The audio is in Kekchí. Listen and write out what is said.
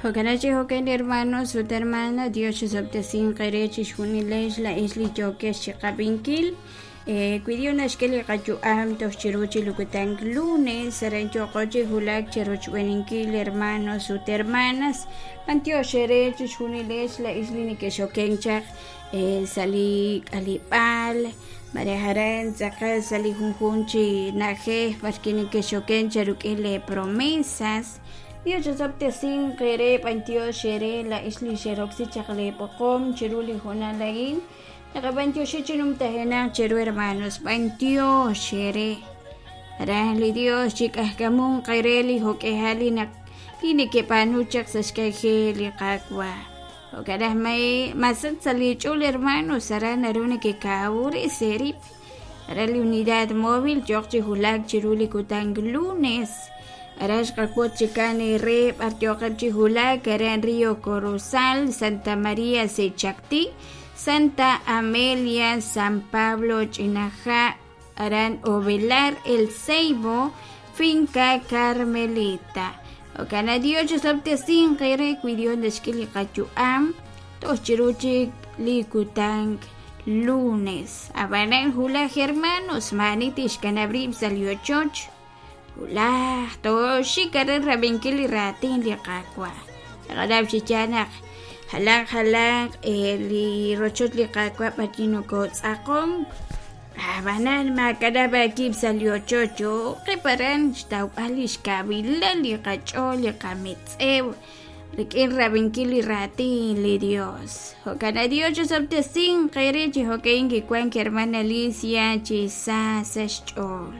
Jo'kan chi jo'kan, hermanos ut hermana, Dios chisob'tesinq eere chixjunilex laa'ex li yookex chiqab'inkil. Wi Dios naxk'e li qayu'am toj chiru chi li kutan lunes, aran yooqo chi wulak cherochb'eeninkil, hermanos ut hermanas. B'antiox eere chixjunilex laa'ex li nekexokenk chaq sa' li k'aleb'aal, malaj aran tz'aqal sa' li junjunq chi na'ajej b'arwi' nekexokenk cheruk'in lee promesas. Dios chisob'tesinq eere. B'antiox eere laa'ex li xeroksi chaq lee b'oqom chiru li hoonal a'in. Naqab'antioxi chi numtajenaq cheru, hermanos, b'antiox eere. Raj li Dios chik'ajk'amunq eere li jo'k'ihal li naq li nekeb'aanu chaq sa' xk'anjel li Qaawa'. Jo'kan aj masach sa' li ch'ol, hermanos, aran naru nekekawresi eerib'. Aran li unidad móvil yooq chi wulak chiru li kutan lunes. Aran xqawotz chikan eere b'ar yooqeb' chi wulak aran Río Corozal, Santa María Sechactí, Santa Amelia, San Pablo Ch'inaja', aran Ovelar, El Ceibo, Finca Carmelita. Jo'kan Dios chisob'tesinq eere wi Dios naxk'e li qayu'am toj chiru chik li kutan lunes. Ab'anan wulaj, hermanos, maa'ani tixkanab' rib' sa' li ochoch. Wulaj tooxik aran rab'inkil li raatin li Qaawa'. Naqanaw chi yaal naq jalan jalanq li rochoch li Qaawa' b'arwi' nokotz'aqonk. Ab'anan maakanab' aawib' sa' li ochoch, yooqeb' aran xtawb'al li xkawilal li qach'ool, li qametz'ew rik'in rab'inkil li raatin li Dios. Jo'kan Dios chisob'tesinq eere. Chi jo'kan kiwank hermana Alicia chi sa sa xch'ool.